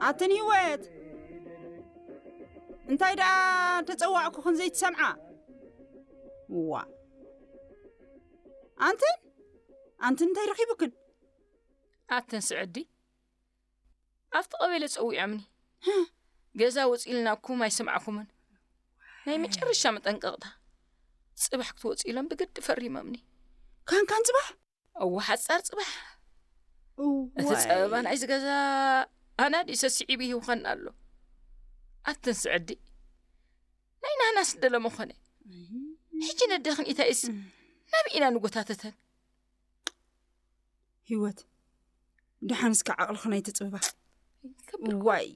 ኣትን ህይወት፣ እንታይ ደኣ ተጸዋዕኩኽን ዘይትሰምዓ? ዋ፣ ኣንትን ኣንትን እንታይ ረኺቡክን? ኣተን ስዕዲ ኣብቲ ቀበሌ ጸዊዖምኒ። ገዛ ውጽ ኢልናኩም ኣይሰምዓኩምን። ናይ መጨረሻ መጠንቀቕታ። ጽባሕ ክትወጽ ኢሎም ብግዲ ፈሪሞምኒ። ካንካን ጽባሕ? እወ ሓጻር ጽባሕ። እቲ ጸበባ ናይዚ ገዛ ኣናዲ ሰሲዒ ብሂውኸን ኣሎ። ኣትን ስዕዲ ናይ ናህናስ ደለመ ኾነ። ሕጂ ነደኽን ኢታይስ ናብ ኢና ንጎታተተን። ህይወት፣ ደሓን እስከ ዓቕልኽን ኣይትጽብባ። ዋይ፣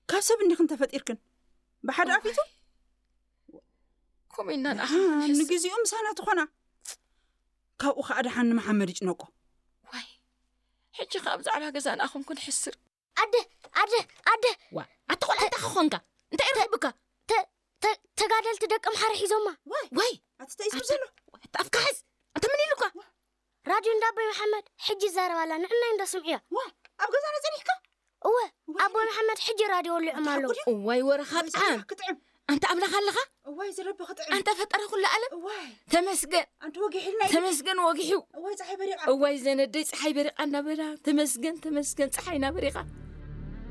ካብ ሰብ እንዲኽን ተፈጢርክን? ብሓደ ኣፊቱ? ከምኡ ኢና ንኣኽም ንሕስር። ንግዚኡ ምሳና ትኾና። ካብኡ ኸዓ ደሓን ንመሓመድ ይጭነቆ። ዋይ፣ ሕጂ ኸዓ ብዛዕባ ገዛ ንኣኹም ክንሕስር። ኣደ ኣደ ኣደ ዋ ኣቲ ቆልዓ እንታይ ክኾንካ? እንታይ ረኺብካ? ተ- ተ- ተጋደልቲ ደቂ ምሓረ ሒዞማ። ወይ ኣቲ እንታይ እዩ ዘሎ? ኣፍካ ሓዝ። ኣንተ ምን ኢሉካ? ራድዮ እንዳ ኣቦይ መሓመድ ሕጂ ይዛረብ ኣላ። ንዕናይ እንዳ ስምዕያ። ዋ ኣብ ገዛና ጸኒሕካ? እወ ኣቦይ መሓመድ ሕጂ ራድዮ ወሊዖም ኣለዉ። እዋይ ወረኻ ጣዕም። ክትዕም። ኣንተ ኣምላኽ ኣለኻ? እዋይ ዝረቢ ክትዕም። ኣንተ ፈጠረ ኩሉ ዓለም? እዋይ ተመስገን ኣንቲ ወጊሕልና እዩ። ተመስገን ወጊሑ። እዋይ ፀሓይ በሪቓ። እዋይ ዘነደይ ፀሓይ በሪቓ እናበላ ተመስገን ተመስገን ፀሓይና በሪቓ።